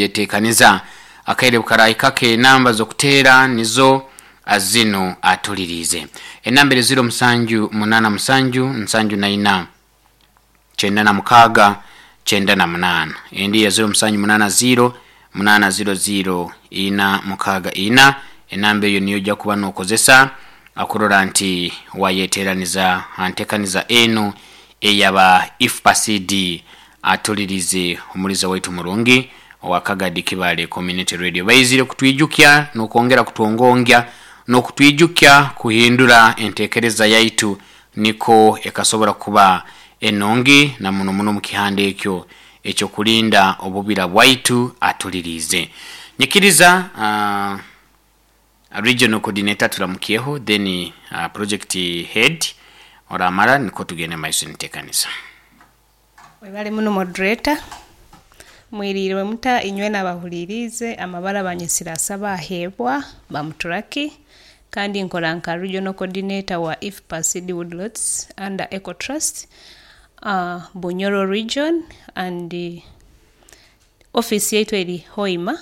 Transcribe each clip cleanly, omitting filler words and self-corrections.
Yetekaniza akaire bukaraahika ke. Enamba z'okuteera nizo zinu, atuliriize enamba eri 0 7 7 74 96 98, endi ya 0 7 8 0 8 0 0 4 6 4. Enamba eyo niyo ojja kuba nokozesa akurora nti wayeteraniza ha ntekaniza enu eyaba IFPA-CD. Atulirize omuliza waitu murungi owa Kagadi Kibale Community Radio, baizire kutwijukya n'okwongera kutwongongya n'okutwijukya kuhindura entekereza yaitu niko ekasobora kuba enungi, na muno muno omu kihanda ekyo ekyokulinda obubira bwaitu. Atulirize, nyikiriza regional coordinator turamukyeho, then project head oramara niko tugende maiso entekaniza. Webale muno, moderator. Mwiriirwe muta inywena abahuliriize? Amabara banyesire Asaba Aheebwa Bamuturaki, kandi nkora nka regional coordinator wa IFPA CD Woodlots under Eco Trust, Bunyoro region, and office yaitu eri Hoima.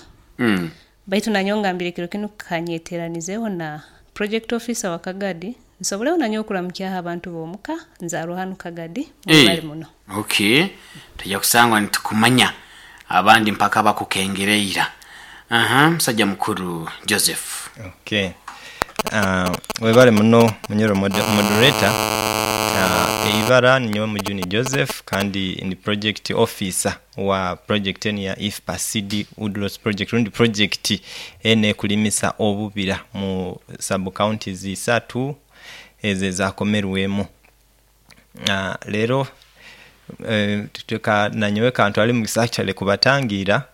Baitu nanyowe ngambire kiro kinu kanyeteranizeho na project officer wa Kagadi, nsoboleho nanyowe okuramukyaho abantu b'omuka. Nzaarwa hanu Kagadi. Mwebale muno. Okay, tujja kusangwa nitukumanya abandi mpaka bakukengereira. Aha, musajja mukuru Joseph. Okay. Webale muno, munyoro moderator. Eibara ninyowe Mujuni Joseph, kandi ndi project officer wa project enu ya IFPA CD Woodlots project, rundi project enu ekulimisa obubira mu sub counties isatu ezo ezakomerwemu. Leero nanyowe kantwale omugisa actually kubatangiira,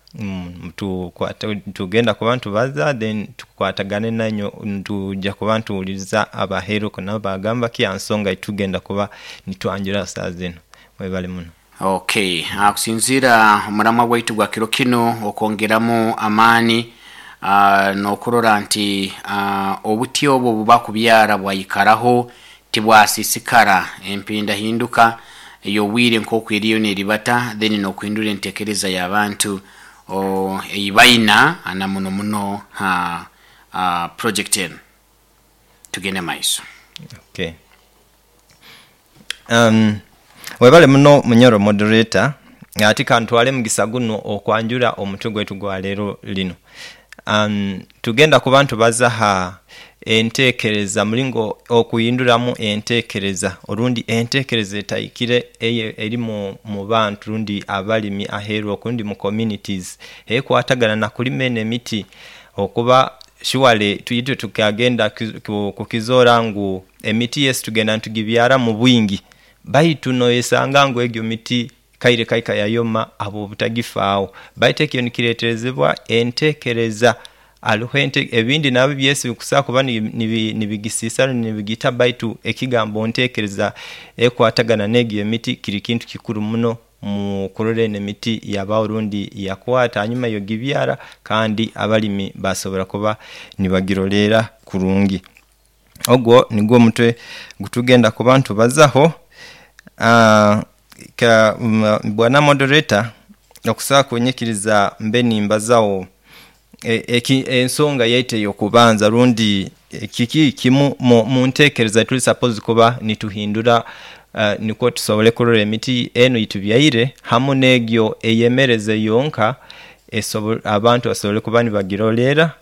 tugenda kuba nitubaza, then tukwatagane nainywe, nitujja kuba nituwuliriza abaheru nabo bagamba ki aha nsonga eyitugenda kuba nitwanjura saaha zinu. Mwebale muno. Okay, kusinziira omuramwa gwaitu gwa kiro kinu, okwongeramu amaani n'okurora nti obuti obwo buba kubyara bwayikaraho, tibwasisikara empindahinduka ey'obwire nk'oku eriyo neribata, then n'okuhindura entekereza y'abantu ei baina na muno muno ha project enu. Tugende maiso. Okay. Webale muno, munyoro moderator. Ati kantwale mugisa guno okwanjura omutwe gwaitu gwa leero lino. Tugenda kuba nitubaza ha entekereza, mulingo okuhinduramu entekereza orundi entekereza etahikire eri mu bantu rundi abalimi aheru okundi mu communities ekwatagana na kulima eno emiti, okuba surely itwe tukagenda kukizora ngu emiti, yes, tugenda nitugibyara mu bwingi, baitu noyesanga ngu egyo miti kaire kaika yayoma habw'obutagifaaho. Baitu ekyo nikireterezebwa entekereza. Hariho ebindi nabyo byesi bikusobola kuba nibigisiisa rundi nibigita, baitu ekigambo ntekereza ekwatagana n'egyo emiti kiri kintu kikuru muno mu kurora eno emiti yabaho rundi yakwata hanyuma y'ogibyara, kandi abalimi basobora kuba nibagiroleera kurungi. Ogwo nigwo omutwe gutugenda kuba nitubazaho. Bwana moderator, okusobola kunyikiriza mbe nimbazaho ensonga yaitu ey'okubanza, rundi kiki kimu mu ntekereza tuli supposed kuba nituhindura nikwo tusobole kurora emiti enu eyitubyaire hamu n'egyo eyemereze yonka, abantu basobole kuba nibagiroleera,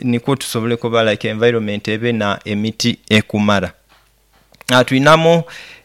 nikwo tusobole kuba like environment ebe na emiti ekumara. Twinamu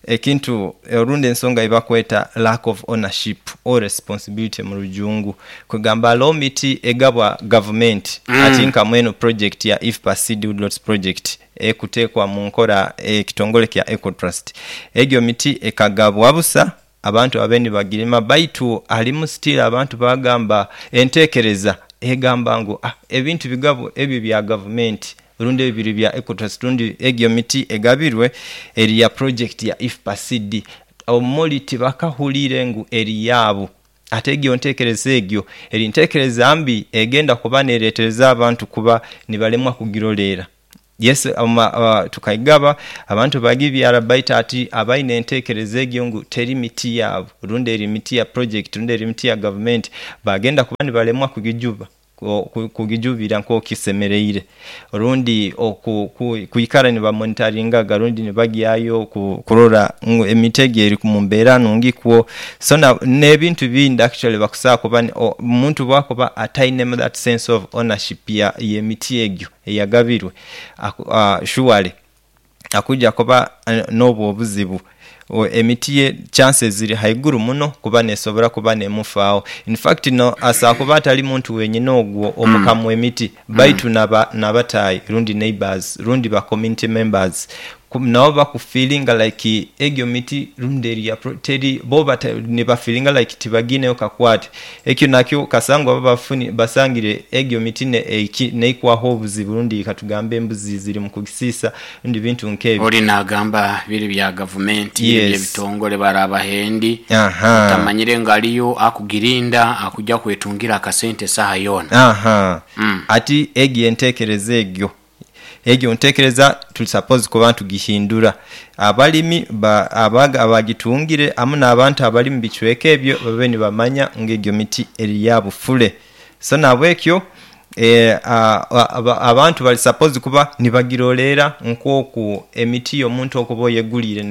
ekintu orundi ensonga eyibakweta lack of ownership or responsibility mu rujungu. Kwegamba hariho miti egabwa gavumenti, ati nka mwenu project ya IFPA Seed Woodlots project ekutekwa mu nkora ekitongole kya Eco Trust. Egyo miti ekagabwa busa abantu babe nibagirima, baitu harimu still abantu bagamba entekereza egamba ngu ah, ebintu bigabwa ebyo bya gavumenti, rundi ebyo biri bya Ecotrust, rundi egyo miti egabirwe eri ya project ya IFPA CD. Omuri tibakahuriire ngu eri yaabo. Ate egyo ntekereza egyo eri ntekereza mbi egenda kuba neretereza abantu kuba nibalemwa kugiroleera. Yes, tukaigaba abantu bagibyara, baitu ati abaine entekereza egyo ngu teri miti yaabo rundi eri miti ya project rundi eri miti ya gavumenti, bagenda kuba nibalemwa kugijuba, kugijubira nk'okisemereire, rundi kwikara nibamonitaringaga rundi nibagyayo kurora ngu emiti egi eri mu mbeera nungi kwo. So n'ebintu bindi actually bakusobola kuba omuntu bwakuba atainemu that sense of ownership ya y'emiti egyo eyagabirwe, surely akuja kuba n'obwo obuzibu. Emiti ye chances ziri haiguru muno kuba nesobora kuba nemufaaho. In fact no asobola kuba atali muntu wenyini ogwo omukamu w'emiti, baitu n'abataayi rundi neighbors rundi ba community members nabo bakufiiringa like egyo miti rundi eri ya teri bo nibafiiringa like tibagiineho kakwate. Ekyo nakyo kasangwa baba basangire egyo miti neikwaho obuzibu rundi katugambe embuzi ziri mu kugisiisa rundi bintu nk'ebyo. Ori naagamba biri bya gavumenti, biri by'ebitongole baraabahendi, otamanyire ngu aliyo akugirinda akuja kwetungira akasente esaaha yoona. Ati egyo entekereza egyo egyo ntekereza tuli suppose kuba ntugihindura. Abalimi abagitungire hamu n'abantu abali mu bicweka ebyo babe nibamanya ngu egyo miti eri yaabo fule. So nahabwekyo abantu bali suppose kuba nibagiroleera nk'oku emiti y'omuntu okuba oyeguliire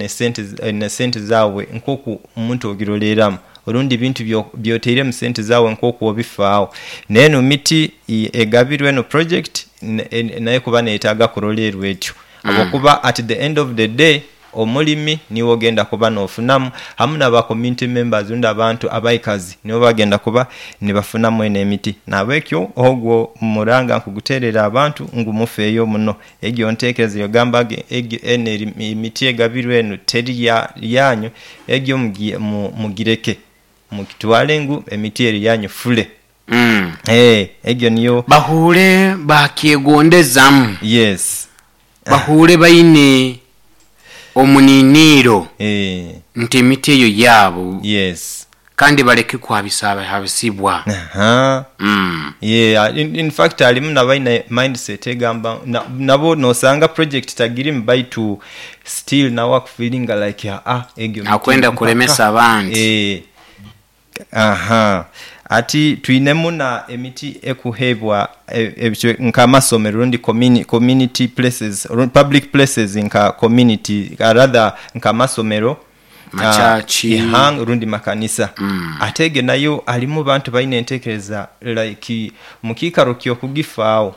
n'esente zaawe nk'oku omuntu ogiroleeramu orundi ebintu by'otairemu sente zaawe nk'oku obifaaho. N'enu miti egabirwe enu project nayo kuba neyetaaga kurolerwa etyo habwokuba at the end of the day omulimi niiwe ogenda kuba n'ofunamu hamu n'aba community members rundi abantu abaikazi nibo bagenda kuba nibafunamu eno emiti. Nahabwekyo ogwo muranga nkuguteerera abantu ngu mufeeyo muno. Egyo ntekereza eyogamba egyo eno emiti egabirwe enu teri yanyu, egyo mugireke mugitwale ngu emiti eri yanyu fule. Egyo niyo. Bahuure baakyegondezaamu. Yes. Bahuure baine omuniiniiro nti emiti eyo yaabo. Yes. Kandi baleke kuhabisahabisibwa. Yeah, in fact halimu nabaine mindset egamba nabo nosanga project tagirimu baitu still nawe akufiiringa like egyo miti Akwenda mpaka. kulemesa abandi. Ati twinemu na emiti ekuheebwa nk'amasomero rundi community places, public places nka community rather nk'amasomero, Machachi. Rundi makanisa. Ate ege nayo halimu bantu baine entekereza like mukiikaro ky'okugifaaho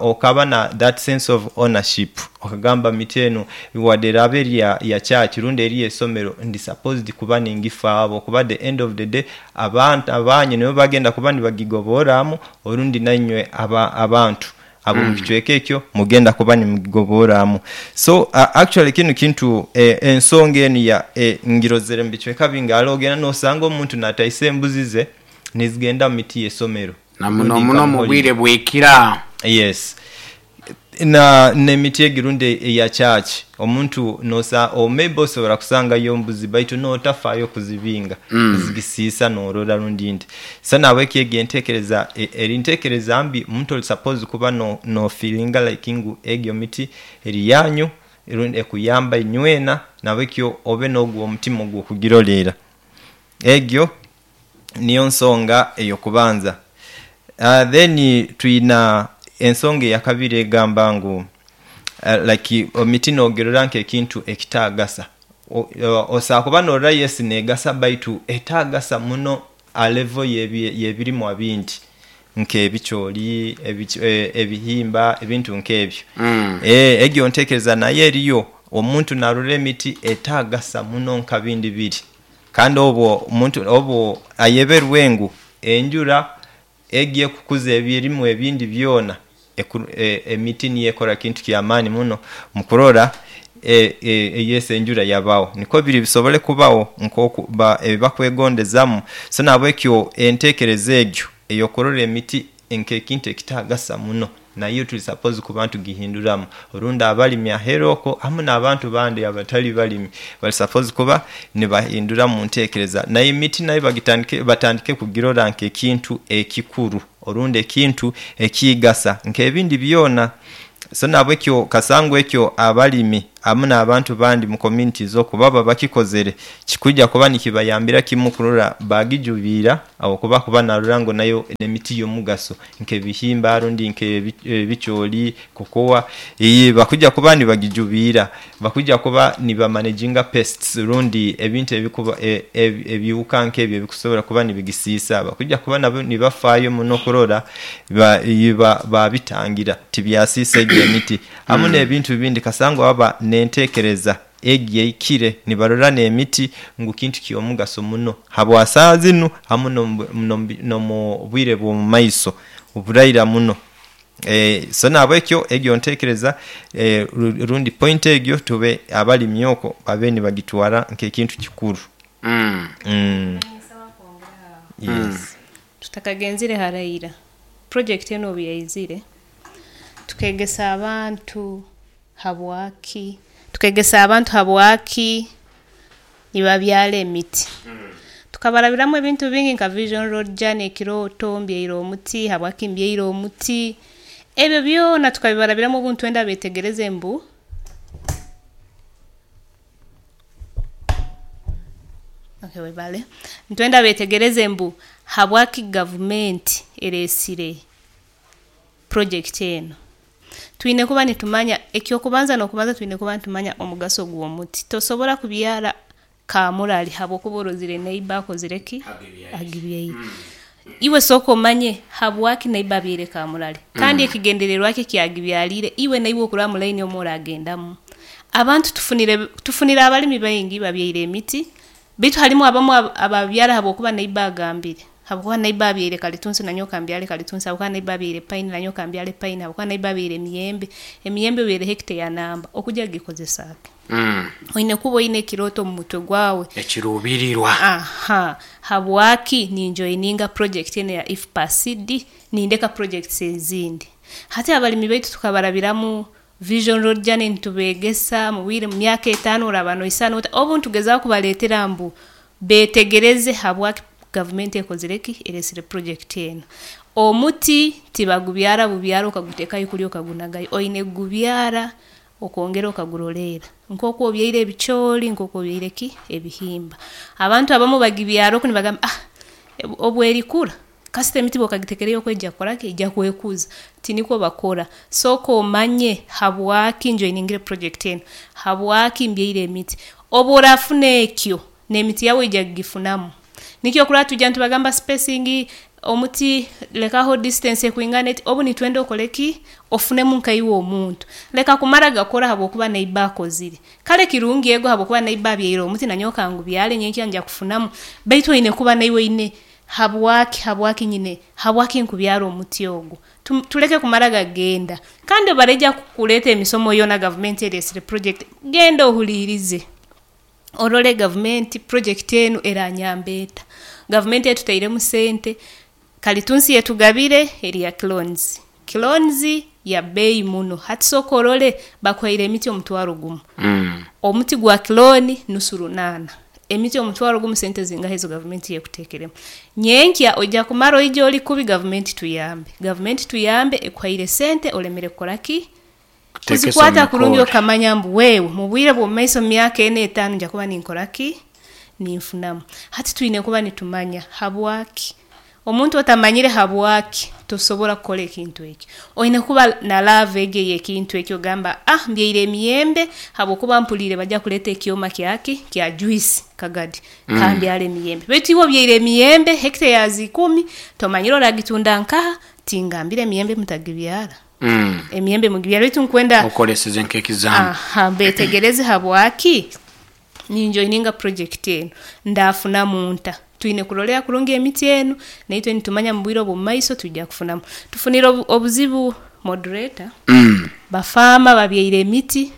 okaba na that sense of ownership, okagamba miti enu wadde eraaba eri ya church rundi eri y'eisomero ndi supposed kuba ningifaaho habwokuba at the end of the day abantu abanyu nibo bagenda kuba nibagigoborramu orundi nainywe abantu ab'omu kicweka ekyo mugenda kuba nimugigoborramu. So actually kinu kintu ensonga enu ya ngirozere mu bicweka bingi, hali ogenda n'osanga omuntu nataisa embuzi ze nizigenda mu miti y'eisomero. Na muno muno mu bwire bw'ekira. Yes. N'emiti egi rundi eya church, omuntu nosa maybe osobora kusangayo embuzi baitu n'otafaayo kuzibinga, nizigisiisa n'orora rundi nti. So nahabweki egi entekereza eri ntekereza mbi, omuntu oli suppose kuba nofiiringa like ngu egyo miti eri yanyu rundi ekuyamba inywena, nahabwekyo obe n'ogwo omutima ogw'okugiroleera. Egyo niyo nsonga ey'okubanza. Then twina ensonga eyakabiri egamba ngu like emiti n'ogirora nk'ekintu ekitaagasa. Osobola kuba norora yes negasa baitu etagasa muno ha level y'ebirimwa bindi nk'ebicooli, ebihimba ebintu nk'ebyo. Egyo ntekereza nayo eriyo, omuntu narora emiti etagasa muno nka bindi biri. Kandi obwo omuntu obwo ayeberwe ngu enjura egi ekukuza ebirimwa ebindi byona, emiti niyo ekora kintu ky'amaani muno mu kurora yes enjura yabaho. Nikwo biri bisobole kubaho nk'oku ebibakwegondezaamu. So nahabwekyo entekereza egyo ey'okurora emiti nk'ekintu ekitagasa muno nayo tuli suppose kuba ntugihinduramu. Orundi abalimi aheeru okwo hamu n'abantu bandi abatali balimi bali suppose kuba nibahindura mu ntekereza. Nayo emiti nayo batandike kugirora nk'ekintu ekikuru orundi ekintu ekigasa nk'ebindi byona. So nabwekyo kasangu ekyo abalimi amu n'abantu bandi mu communities okwo baba bakikozere, kikujja kuba nikibayambira kimu kurora bagijubiira aho kuba narora ngu nayo n'emiti y'omugaso nk'ebihimba rundi nk'ebicoori, kokowa, bakujja kuba nibagijubiira, bakujja kuba nibamanaginga pests rundi ebintu ebikuba ebihuka nk'ebyo ebikusobora kuba nibigisiisa, bakujja kuba nabo nibafaayo muno kurora babitangira tibyasiisa egyo emiti hamu n'ebintu bindi kasangwa baba n'enteekereza egi ehikire nibarora n'emiti ngu kintu ky'omugaso muno habwa saaha zinu hamu n'omu bwire bw'omu maiso oburaira muno. So nahabwekyo egyo nteekereza rundi point egyo tube abalimi okwo babe nibagitwara nk'ekintu kikuru. Yes. Tutakagenzire haraira, project enu obu yaizire, tukegesa abantu habwaki, tukegesa abantu habwaki nibabyara emiti. Tukabarabiramu ebintu bingi nka Vision Road Journey, ekirooto, mbyaire omuti, habwaki mbyaire omuti, ebyo byona tukabibarabiramu obu nitwenda beetegereze mbu okay, webale. Nitwenda beetegereze mbu habwaki gavumenti ereesire project enu. Twine kuba nitumanya eky'okubanza n'okubanza twine kuba nitumanya omugaso gw'omuti. Tosobora kubyara kaamurali habwokuba orozire neighbour akozire ki? Agibyaire. Iwe sooka omanye habwaki neighbour abyaire kaamurali kandi ekigendererwa kye eki agibyaliire iwe naiwe okurora mu line omu oraagendamu. Abantu tufunire abalimi baingi babyaire emiti baitu harimu abamu ababyara habwokuba neighbour agambire, habwokuba neighbour abyaire kalitunsi nanyowe kambyale kalitunsi, habwokuba neighbour abyaire pine nanyowe kambyale pine, habwokuba neighbour abyaire emiyembe, emiyembe obyere hectare ya namba, okujya kugikozesa ki? Oine kuba oine ekirooto omu mutwe gwawe. Ekiruubirirwa. Aha, habwaki ninjoininga project enu eya IFPACD nindeka projects ezindi. Hati abalimi baitu tukabarabiramu Vision Road Journey nitubeegesa mu bwire mu myaka 5 oraaba noisana ota, obu nitugezaaho kubaleetera mbu beetegereze habwaki gavumenti ekozire ki? Ereesire project enu. Omuti tibagubyara bubyara okaguteekayo kuli okagunagayo, oine kugubyara okongera okaguroleera nk'oku obyaire ebicooli, nk'oku obyaire ki? Ebihimba. Abantu abamu bagibyara oku nibagamba obu erikura, kasita emiti obu okagiteekereyo oku eija kukora ki? Eija kwekuza. Tinikwo bakora, sooka omanye habwaki njoiningire project enu, habwaki mbyaire emiti. Obu oraafuna ekyo, n'emiti yaawe oija kugifunamu. Nikyo okurora twija nitubagamba spacing, omuti lekaho distance ekwingana eti, obu nitwenda okole ki? Ofunemu nkaiwe omuntu. Leka kumara gakora habwokuba neighbour akozire. Kare kirungi ego habwokuba neighbour abyaire omuti nanyowe kangubyare nyenkya nija kufunamu, baitu oine kuba naiwe oine habwaki, habwaki nyine, habwaki nkubyara omuti ogu. Tuleke kumara gagenda. Kandi obu baraija kukuleeta emisomo yoona gavumenti ereesire project, genda ohuliirize, orole gavumenti project enu eranyamba eta. Gavumenti etutairemu sente, kalitunsi etugabire eri ya clones. Clones ya bbeeyi muno, hati sooka orole bakuhaire emiti 10,000. Omuti gwa clone nusu runaana, emiti 10,000 sente zingaha ezi gavumenti ekuteekeremu? Nyenkya oija kumara oije ori kubi gavumenti tuyambe, gavumenti tuyambe ekuhaire sente olemere kukora ki? Kuteekesa Kuzikwata omu kurungi mikora. okamanya mbu wewe mu bwire bw'omu maiso mu myaka ena etaano nija kuba ninkora ki? Ninfunamu. Hati twine kuba nitumanya habwaki. Omuntu otamanyire habwaki, tosobora kukora ekintu eki. Oine kuba na love egi ey'ekintu eki ogamba mbyaire emiyembe habwokuba mpuliire baija kuleeta ekyoma kyaki? Kya juice Kagadi, kambyare emiyembe. Baitu iwe obyaire emiyembe hectare ya ikumi, tomanyire oragitunda nkaha, tingambire emiyembe mutagibyara. Emiyembe mugibyare baitu nkwenda Okoleseze nk'ekizambu. Aha, beetegereze habwaki ninjoininga project enu, ndaafunamu nta. Twine kurolerra kurungi emiti enu, naitwe nitumanya mu bwire obw'omu maiso twija kufunamu. Tufunire obuzibu moderator, bafaama babyaire emiti,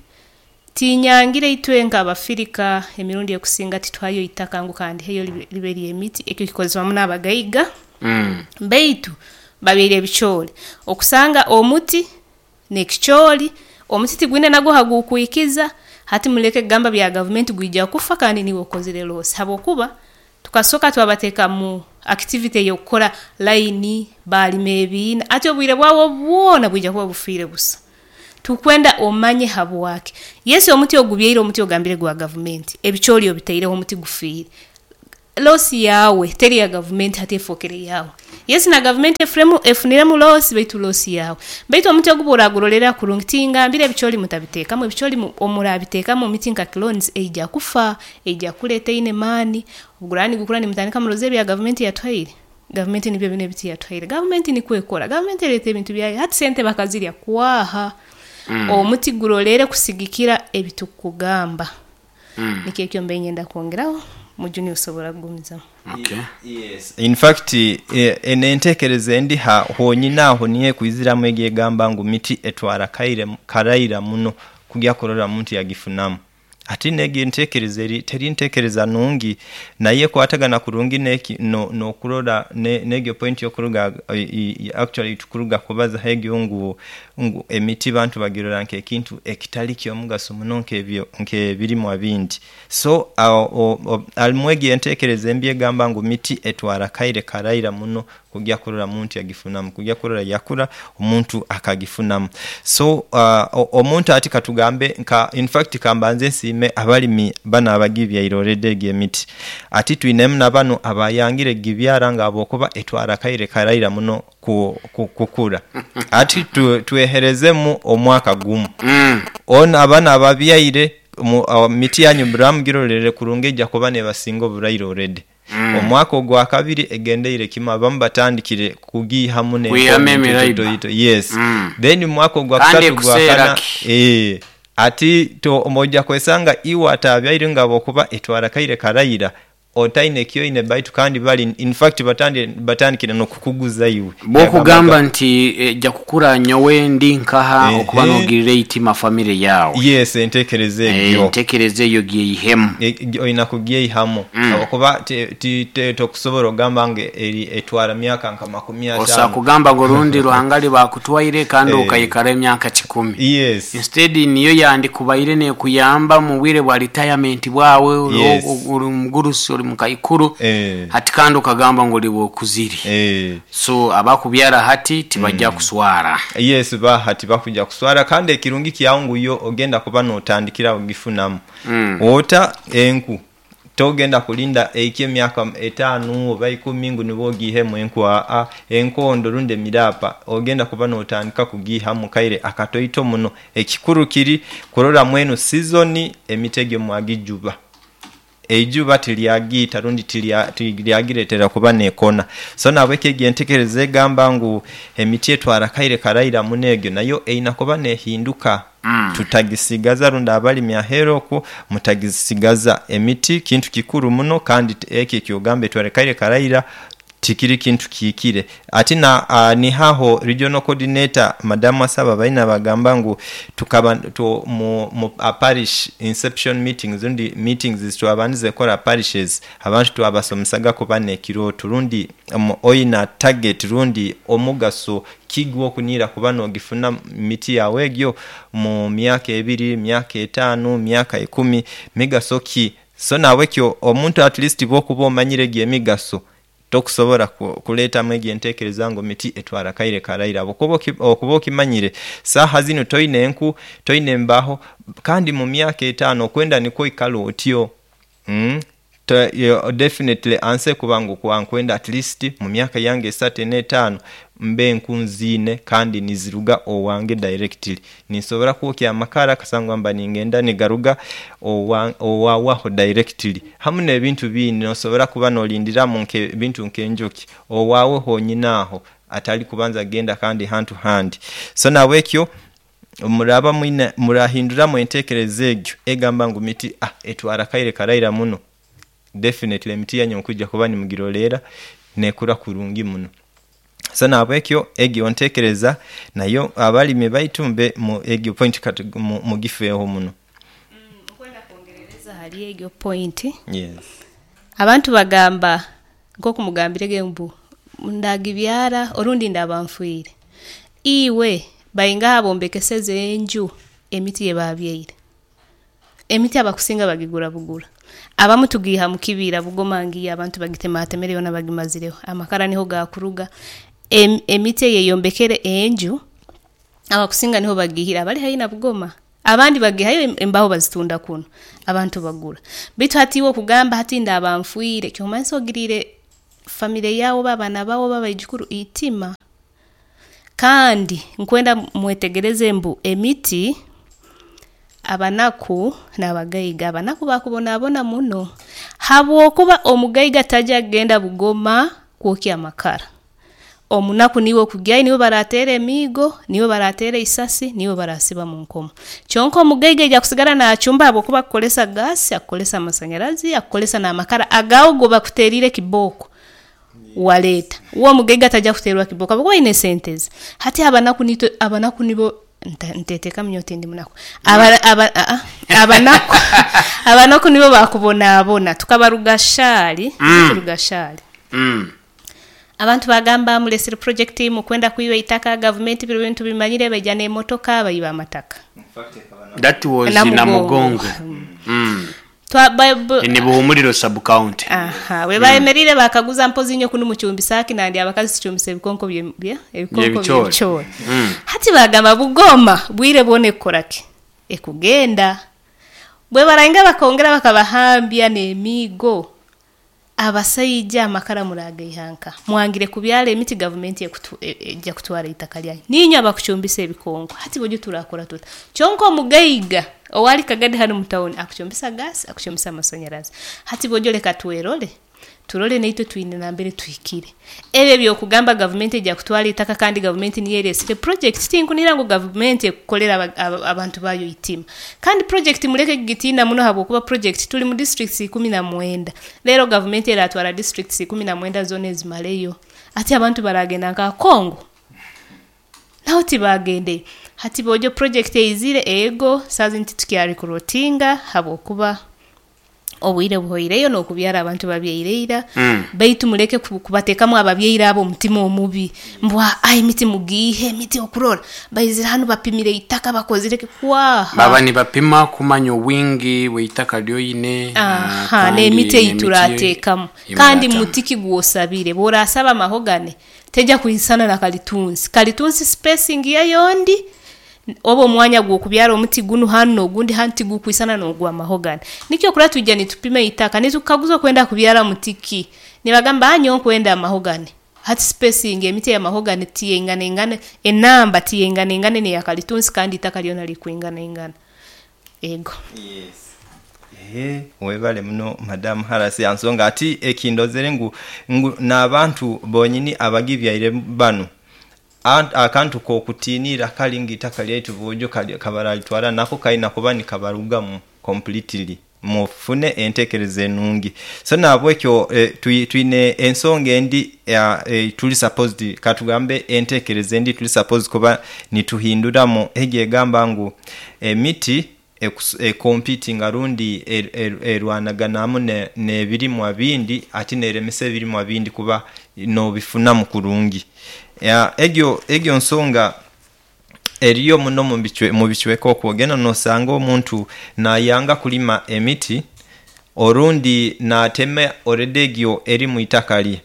tinyangire itwe nk'Abafirika emirundi ekusinga tituhayo itaka ngu kandiheyo libe ly'emiti, ekyo kikozesebwa muno abagaiga, baitu babyaire ebicooli. Okusanga omuti n'ekicooli, omuti tigwine nagwo hagukwikiza, hati muleke kugamba bya gavumenti gwija kufa kandi niiwe okozire loss habwokuba tukasooka twabateeka mu activity ey'okukora line, baalima ebiina, hati obwire bwabo bwona bwija kuba bufiire busa. Tukwenda omanye habwaki. Yes, omuti ogubyaire, omuti ogambire gwa gavumenti, ebicoori obitaireho, omuti gufiire. Loss yaawe teri ya gavumenti, hati efookere yaawe. Yes, na gavumenti efuremu efuniremu loss, baitu loss yaawe. Baitu omuti ogu bworagurorera kurungi, tingambire ebicoori mutabiteekamu, ebicoori omurabiteekamu emiti nka clones eija kufa, eija kukura etaine maani, obu guraaba nigukura nimutandika muroze ebya gavumenti yatuhaire, gavumenti nibyo binu ebiti yatuhaire. Gavumenti nikwo ekora, gavumenti ereeta ebintu byayo, hati sente bakazirya kwaha. Omuti gurorere kusigikira ebi tukukugamba. Nikyo ekyo mbaire niinyenda kwongeraho, Mujuni osobora kugumizamu. Okay. Yes. In fact, eno entekereza endi ha honyini aho niyo ekwiziramu egyo egamba ngu miti etwara kaire karaira muno kugya kurora muntu yagifunamu. Ati n'egyo entekereza eri teri ntekereza nungi, nayo ekwatagana kurungi n'eki no n'okurora n'egyo point y'okuruga actually tukuruga kubazaho egyo ngu emiti bantu bagirora nk'ekintu ekitali ky'omugaso muno nk'ebyo nk'ebirimwa bindi. So harimu egyo entekereza embi egamba ngu miti etwara kaire karaira muno kugya kurora muntu yagifunamu, kugya kurora yakura omuntu akagifunamu. So omuntu ati katugambe nka infact kambanze nsiime abalimi banu abagibyaire already egyo emiti. Ati twinemu na banu abayangire gibyara nga habwokuba etwara akaire karaira muno kukura. Ati tweherezemu omwaka gumu. Ono abano ababyaire miti yanyu muraba mugirorere kurungi eija kuba nebasinga oburaire already. Omwaka ogwakabiri egendeire kimu abamu batandikire kugiihamu Kwihamu n'enkondo emiraiba. entoitoito yes. Then omwaka Kandi ogwakusatu ekuseera ogwakana ki? ati oija kwesanga iwe atabyaire nga habwokuba etwara kaire karaira otaine kyoine baitu kandi bali infact batandikire n'okukuguza iwe. Bwokugamba nti eja kukura nyowe ndi nkaha okuba nogirira eitima famire yawe. Yes, entekereza egyo. Entekereza eyo gyeihemu. Olina kugyeihamu habwokuba tokusobora ogamba ngu etwara myaka nka makumi Osobola ataano. kugamba ngu orundi Ruhanga aliba akutwaire kandi okaikara emyaka kikumi. Yes. Instead niyo yandikubaire nekuyamba mu bwire bwa retirement bwawe, ori mugurusi, ori mukaikuru, hati kandi okagamba ngu oliba okuzire. So abakubyara hati tibajja kuswara. Yes, ba tibakuja kuswara kandi ekirungi kyawo ngu yo ogenda kuba notandikirawo ogifunamu. Ota enku togenda kulinda ehike emyaka etaanu oba ikumi ngu nibwo ogiihemu enku aa, enkondo rundi emirapa ogenda kuba notandika kugiihamu kaire akatoito muno. Ekikuru kiri kurora mwenu sizoni emiti egyo mwagijuba. Eijuba tilyagiita rundi tilyagiretera kuba nekona. So nahabwekyo egyo entekereza egamba ngu emiti etwara kaire karaira muno egyo nayo erina kuba nehinduka. Tutagisigaza rundi abalimi aheeru okwo mutagisigaza. Emiti kintu kikuru muno kandi ekyo ekyogamba etwara kaire karaira tikiri kintu kihikire. Ati na nihaho regional coordinator Madamu Asaba baina bagamba ngu tukaba mu parish inception meetings rundi meetings twabandize kukora parishes abantu twabasomesaga kuba n'ekirooto rundi oina target rundi omugaso ki gw'okuniira kuba n'ogifuna miti yawe egyo mu myaka ebiri, myaka etaanu, myaka ikumi, migaso ki? So nahabwekyo omuntu at least bw'okuba omanyire egyo emigaso tokusobora kuleetamu egyo entekereza ngu miti etwara kaire karaira habwokuba okuba okimanyire saaha zinu toine enku, toine embaho kandi mu myaka etaano okwenda nikwo oikale otyo. Definitely anse kuba ngu okuba nkwenda at least mu myaka yange esatu ena etaano mbe enku nziine kandi niziruga owange directly. Ninsobora kwokya amakara kasangwa mba ningenda nigaruga owawaho directly. Hamu n'ebintu bindi nosobora kuba nolindiramu ebintu nk'enjoki owawe honyini aho atali kubanza kugenda kandi hantu handi. So nahabwekyo muraba mwine murahinduramu entekereza egyo egamba ngu miti etwara kaire karaira muno, definitely emiti yanyu mukwija kuba nimugirorera nekura kurungi muno. So nahabwekyo egyo ntekereza nayo abalimi baitu mbe egyo point mugifeeho muno. Nkwenda kwongerereza ahari egyo point. Yes. Abantu bagamba nk'oku mugambirege mbu ndagibyara orundi ndaba nfiire. Iwe baingaha abombekeseze enju emiti eyibabyaire? Emiti abakusinga bagigura bugura. Abamu tugiiha mu kibira Bugoma ngiyo abantu bagitematemere yoona bagimazireho, amakara niho gakuruga. Emiti eyi eyombekere enju. Abakusinga niho bagiihire abali haihi na Bugoma. Abandi bagiihayo embaho bazitunda kunu, abantu bagura. Baitu hati iwe okugamba hati ndaaba nfwire, kyomanyisa ogiriire famire yaawe oba abaana baawe oba abaijukuru eitima. Kandi nkwenda mwetegereze mbu emiti, abanaku n'abagaiga, abanaku bakubonabona muno habwokuba omugaiga taija kugenda Bugoma kwokya amakara, omunaku niiwe okugyayo niiwe baraateera emiigo, niiwe baraateera eisasi, niiwe baraasiba munkomo. Kyonka omugaiga aija kusigara naacumba habwokuba akukozesa gaasi, akukozesa amasanyarazi, akukozesa n'amakara agaawe agu bakuteeriire kibooko wareeta. Uwe omugaiga taija kuteerwa kibooko habwokuba aine sente ze. Hati abanaku niitwe, abanaku nibo, nteteekamu nyowe tindi munaku, abanaku abanaku nibo baakubonabona. Tukaba Rugashari, Rugashari, abantu baagamba mureesire project mukwenda kwiba eitaka, gavumenti binu ebintu tubimanyire, baija n'emotoka baiba amataka. That was Namugongo. In Buhumuriro sub county. Aha, bwe bayemereire baakaguza mpozi inywe kunu mucumbisa ki nandi abakazi tucumbisa ebikonko ebikonko by'ebicoori. Hati baagamba Bugoma bwire bwona ekukora ki? Ekugenda. Bwe barainga bakongera bakabahambya n'emiigo, abasaija amakara muragaiha nkaha? Mwangire kubyara emiti gavumenti eija kutwara eitaka ryanyu. Niinywe abakucumbisa ebikonko, hati bojo turakora tuta? Kyonka omugaiga owari Kagadi hanu mu tawuni akucumbisa gaasi, akucumbisa amasanyarazi. Hati bojo leka twerore, turore naitwe twine nambere tuhikire. Ebi eby'okugamba gavumenti eija kutwara eitaka kandi gavumenti niyo ereesire project, tinkunihira ngu gavumenti ekukorera abantu baayo eitima. Kandi project muleke kugitiina muno habwokuba project turi mu districts 19. Reero gavumenti eraatwara districts 19 zoona ezimareyo. Hati abantu baraagenda nkaha? Congo? Naho tibaagendeyo. Hati bojo project eizire, ego saaha zinu titukyarikurotinga habwokuba obwire buhoireyo n'okubyara abantu babyaire ira, baitu muleke kubateekamu ababyaire abo omutima omubi mbu aa emiti mugiihe, emiti okurora baizire hanu bapimire eitaka bakozire ki, kwaaha. Baba nibapima kumanya obwingi bw'eitaka ly'oine Aha, kandi n'emiti ei n'emiti turaateekamu. ei Kandi muraatamu. muti ki gw'osabire? Bw'oraasaba mahogane, teija kwisana na kalitunsi. Kalitunsi spacing yayo ndi, oba omwanya gw'okubyara omuti gunu hanu n'ogundi hanu tigukwisana n'ogw'amahogane. Nikyo okurora twija nitupima eitaka, nitukukaguza okwenda kubyara muti ki? Nibagamba nyowe nkwenda amahogane. Hati spacing emiti ey'amahogane tiyeinganaingana, enamba tiyeinganaingana n'eya kalitunsi kandi eitaka lyona lirikwinganaingana. Ego. Ehe, webale muno Madam Harasi ansonga ati ekindozere ngu ngu n'abantu bonyini abagibyaire banu akantu k'okutiinirra kali ngu itaka lyaitu boojo kabaralitwara nako kaina kuba nikabarugamu completely mufune entekereza enungi. So nahabwekyo twine ensonga endi tuli supposed katugambe entekereza endi tuli supposed kuba nituhinduramu egyo egamba ngu emiti ekompitinga rundi erwanaganamu n'ebirimwa bindi ati n'eremesa ebirimwa bindi kuba n'obifunamu kurungi. Egyo nsonga eriyo muno mu bicweka okwo ogenda n'osanga omuntu nayanga kulima emiti orundi natema already egyo eri mu itaka lye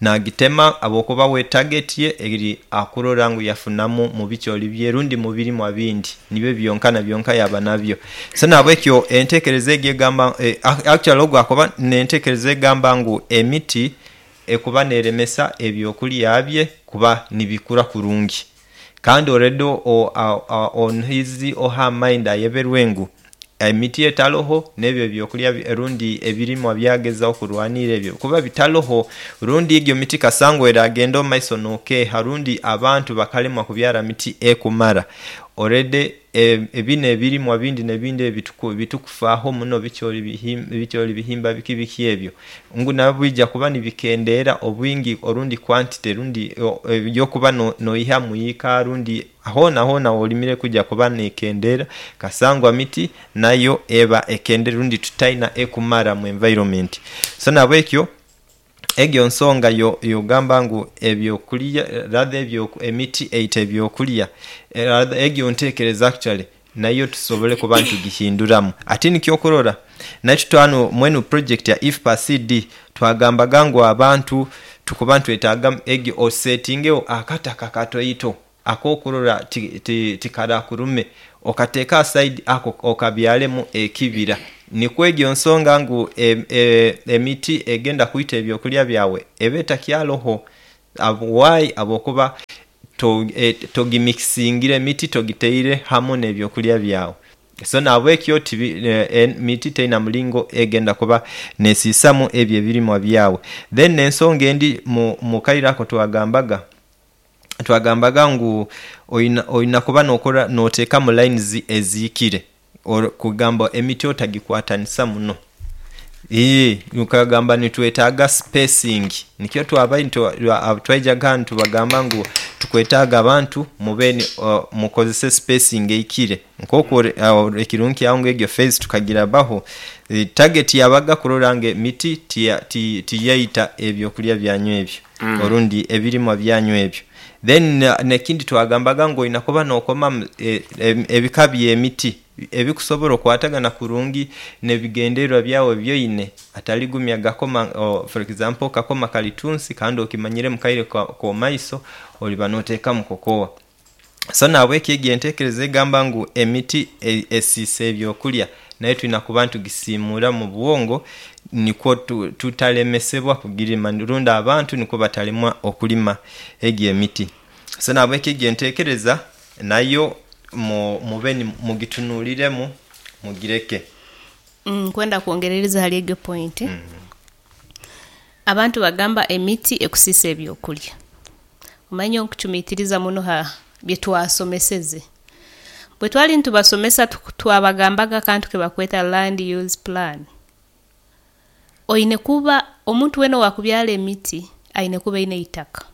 nagitema habwokuba we target ye eri akurora ngu yafunamu mu bicooli bye rundi mu birimwa bindi nibyo byonka na byonka yaba nabyo. So nahabwekyo entekereza egyo egamba actually ogu akuba n'entekereza egamba ngu emiti ekuba n'eremesa ebyokulya bye kuba nibikura kurungi. Kandi already on his or her mind ayeberwe ngu emiti etaloho n'ebyo ebyokulya rundi ebirimwa byagezaaku okurwanirra ebyo kuba bitaloho, rundi egyo miti kasangwa eragenda omu maiso n'okeeha rundi abantu bakalemwa kubyara miti ekumara, already bino ebirimwa bindi n'ebindi ebitukufaaho muno bicooli, bihimba biki biki ebyo, ngu nabyo bwija kuba nibikendeera obwingi orundi quantity rundi ey'okuba n'oiha mu ika rundi hoona hoona w'olimire kwija kuba neekendeera kasangwa miti nayo eba ekendeire rundi tutaina ekumara mu environment. So nahabwekyo egyo nsonga y'ogamba ngu ebyokulya rather emiti eita ebyokulya rather egyo ntekereza actually nayo tusobole kuba nitugihinduramu. Ati nikyo okurora naitwe twanu mwenu project ya IFPA CD twagambaga ngu abantu tukuba nitwetaaga egyo osetingewo akataka katoito. Akokurora tikarakurume okateeka aside ako okabyaremu ekibira. Nikwo egyo nsonga ngu emiti egenda kwita ebyokulya byawe eba etakyaroho. Why? Habwokuba togimixingire emiti togitaire hamu n'ebyokulya byawe. So nahabwekyo emiti teina mulingo egenda kuba nesiisamu ebyo ebirimwa byawe. Then ensonga endi mukaire ako twagambaga twagambaga ngu oina kuba nokora notekamu lines ezihikire kugamba emiti otagikwatanisa muno. Nkagamba nitwetaaga spacing nikyo twabaire twaijaga hanu nitubagamba ngu tukwetaaga abantu mube mukozese spacing ehikire nkoku ekirungi kyaho ngu egyo phase tukagirabaho. Target yabaga kurora ngu emiti tiyaita ebyokulya byanyu ebyo orundi ebirimwa byanyu ebyo. Then nekindi twagambaga ngu oina kuba nokomamu ebika by'emiti ebikusobola okwatagana kurungi n'ebigendererwa byawe ebyoine atali gumya gakoma for example okakoma kalitunsi kandi okimanyire mukaire komaiso oliba notekamu kokowa. So nahabwekyo egyo entekereza egamba ngu emiti esiisa ebyokulya nayo twina kuba nitugisimura mubwongo nikwo tutalemesebwa kugirima rundi abantu nikwo batalemwa okulima egyo emiti. So nahabwekyo egyo entekereza nayo mube mugitunuliremu mugireke. Nkwenda kwongerereza hali egyo point. Abantu bagamba emiti ekusiisa ebyokulya. Omanyire nyowe nkucumitiriza muno ha byetwasomeseze. Bwetwali nitubasomesa twabagambaga akantu kebakweta land use plan. Oine kuba, omuntu weena owakubyara emiti aine kuba aine eitaka,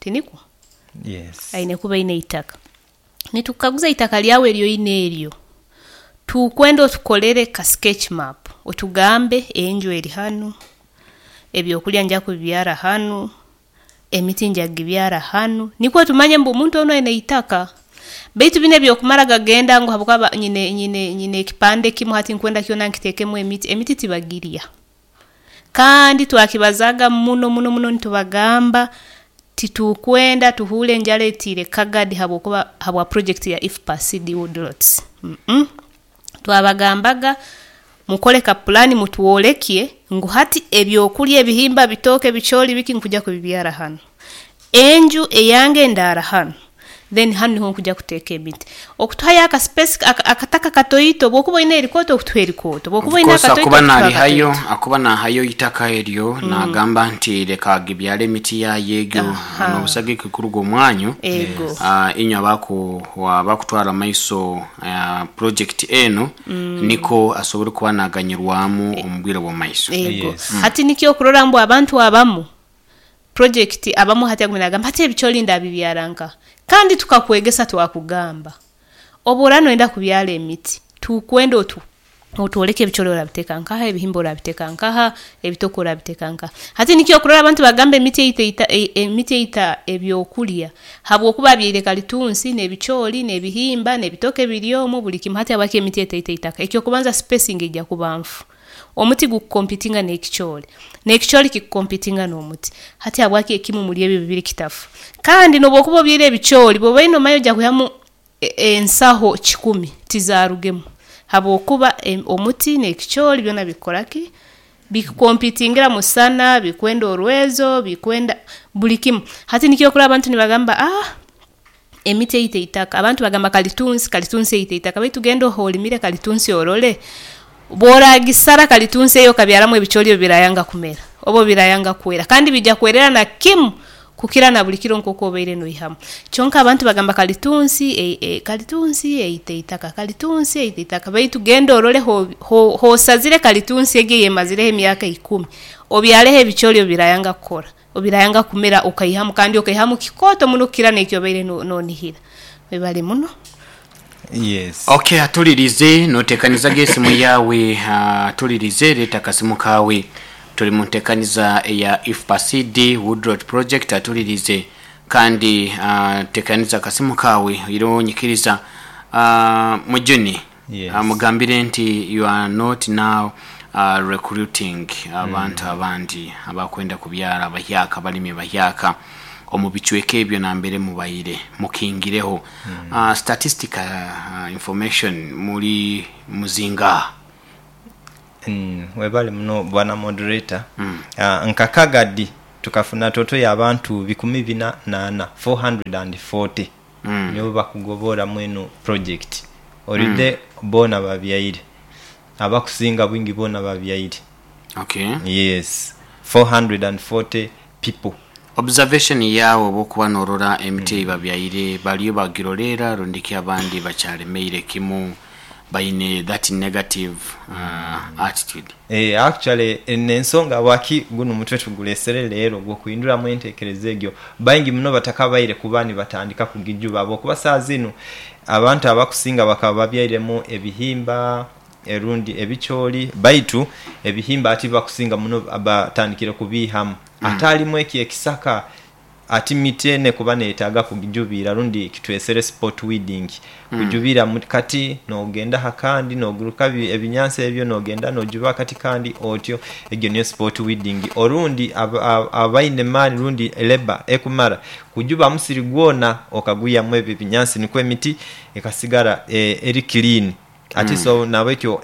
tinikwo? Yes. Aine kuba aine eitaka. Nitukukaguza eitaka ryawe eryoine eryo, tukwenda otukorere ka sketch map, otugambe enju eri hanu, ebyokulya nija kubibyara hanu, emiti nija kugibyara hanu, nikwo tumanye ngu omuntu onu aine eitaka. Baitu binu ebyokumara gagenda ngu habwokuba nyine nyine nyine ekipande kimu hati nkwenda kyona nkitekemu emiti, emiti tibagirya. Kandi twakibazaaga muno muno muno nitubagamba titukwenda tuhuure enjara etiire Kagadi habwokuba habwa project ya IFPA-CD Woodlots. Twabagambaga mukore ka pulaani mutwolekye ngu hati ebyokulya ebihimba, bitooke, bicoori, biki nkwija kubibyara hanu. Enju eyange ndaara hanu, then hanu niho nkwija kuteeka emiti. Okutuhayo aka space akataka katoito, obu okuba oine erikooto okutuha erikooto, obu okuba Of oine course akatoito akuba okutuha narihayo akatoito. akuba nahayo eitaka eryo nagamba nti leka agibyare emiti yayo egyo nobusagiki kuruga omwanyu Ego. inywe abakutwara mumaiso project enu niko asobole kuba naganyirwamu omubwire obwomumaiso. Ego. Yes. Hati nikyo okurora ngu abantu abamu project abamu hati agumire nagamba hati ebicoori ndabibyara nkaha? Kandi tukakwegesa twakugamba obu oraaba noyenda kubyara emiti, tukwenda otwoleke ebicoori orabiteeka nkaha, ebihimba orabiteeka nkaha, ebitooke orabiteeka nkaha. Hati nikyo okurora abantu nibagamba emiti eita emiti eita ebyokurya habwokuba abyaire kalitunsi n'ebicoori, n'ebihimba, n'ebitooke biri omu, buri kimu. Hati habwaki emiti etaita eitaka? Eky'okubanza spacing eija kuba nfu. Omuti gukukompitinga n'ekicoori, n'ekicoori kikukompitinga n'omuti. Hati habwaki ekimu omuri ebi bibiri kitafa? Kandi n'obu okuba obyaire ebicoori, bw'oba oine omanya oija kwihamu ensaho kikumi, tizarugemu habwokuba omuti n'ekicoori byona bikukora ki? Bikukompitingira musana, bikwenda orwezo, bikwenda buri kimu. Hati nikyo okurora abantu nibagamba emiti eita eitaka, abantu bagamba kalitunsi, kalitunsi eita eitaka baitu genda h'orimire kalitunsi orole, bw'oragisara kalitunsi eyo okabyaramu ebicoori ebyo birayanga kumera oba birayanga kwera kandi biija kwerera na kimu kukira na buri kiro nk'oku obaire noihamu. Kyonka abantu bagamba kalitunsi kalitunsi eita eitaka, kalitunsi eita eitaka baitu genda orole h'osazire kalitunsi egi eyemazireho emyaka ikumi, obyareho ebicoori obu birayanga kukora, obu birayanga kumera okaihamu kandi okaihamu kikooto muno kukira n'eki obaire nonihira. Webale muno. Yes. Ok atulirize notekaniza ge esimu yawe atulirize leta akasimu kawe tuli muntekaniza eya IFPA-CD Woodlot Project atulirize kandi tekaniza akasimu kawe oire onyikiriza Mujuni Yes. mugambire nti you are not now recruiting abantu abandi abakwenda kubyara abahyaka abalimi abahyaka. Omu bicweka ebyo nambere mubaire mukingireho. Statistical information muli muzingaha? Webale muno bwana moderator. Nka Kagadi tukafuna toto ya bantu bikumi bina na ana, 440, nibo bakugoboramu eno project. Already bona babyaire. Abakusinga bwingi bona babyaire. Okay. Yes, 440 people. Observation yaawe obwokuba norora emiti eyibabyaire baliyo bagiroleera rundiki abandi bakyalemeire kimu baine that negative attitude? Eeh actually eno ensonga habwaki gunu omutwe tugulesere leero ogwokuhinduramu entekereza egyo. Baingi muno batakabaire kuba nibatandika kugijuba habwokuba saaha zinu abantu abakusinga bakaba babyairemu ebihimba erundi ebicooli baitu ebihimba hati bakusinga muno batandikire kubiihamu. Ate alimu ekyo ekisaka ati miti eno ekuba neyetaaga kugijubiira rundi kitwesere spot weeding, kujubiira mu kati nogenda aha kandi noguruka ebinyansi ebyo nogenda nojuba akati kandi otyo, egyo niyo spot weeding. Orundi abaine maani rundi labour ekumara kujuba musiri gwona okagwihamu ebyo ebinyansi nikwo emiti ekasigara eri clean. Ati so nabwekyo